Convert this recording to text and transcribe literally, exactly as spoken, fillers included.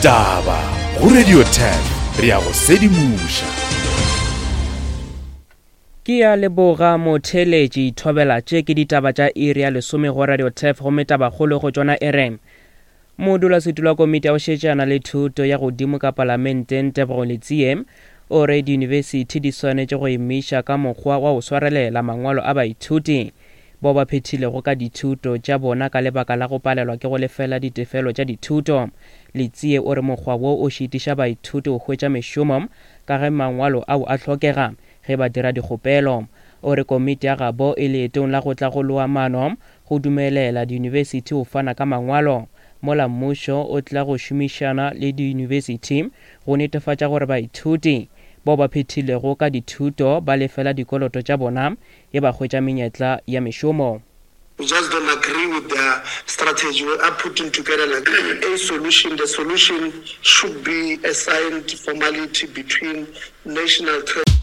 Ditaba go Radio Turf, re ya go sedimoša. Ke ya leboga motheeletši. Thobela, tše ke ditaba tša iri ya lesome go Radio Turf, gomme tabakgolo go tšona e re modulasetulo wa komiti ya go šetšana le thuto ya godimo ka palamenteng Tebogo Letsie o re diyunibesithi di swanetše go emiša ka mokgwa wa go swarelela mangwalo a baithuti bao ba phethilego ka dithuto tša bona ka lebaka la go palelwa ke go lefela ditefelo tša dithuto. Letsie o re mokgwa wo o šitiša baithuti go hwetša mešomo ka ge mangwalo ao a hlokega ge ba dira dikgopelo. O re komiti ya gabo e leetong la go tla go loa maano go dumelela diyunibesithi go fana ka mangwalo, mola mmušo o tla go šomišana le diyunibesithi go netefatša gore baithuti bao ba phethilego ka dithuto ba lefela dikoloto tša bona e ba hwetša menyetla ya mešomo. We just don't agree with their strategy. We are putting together like a solution. The solution should be a signed formality between National Treasury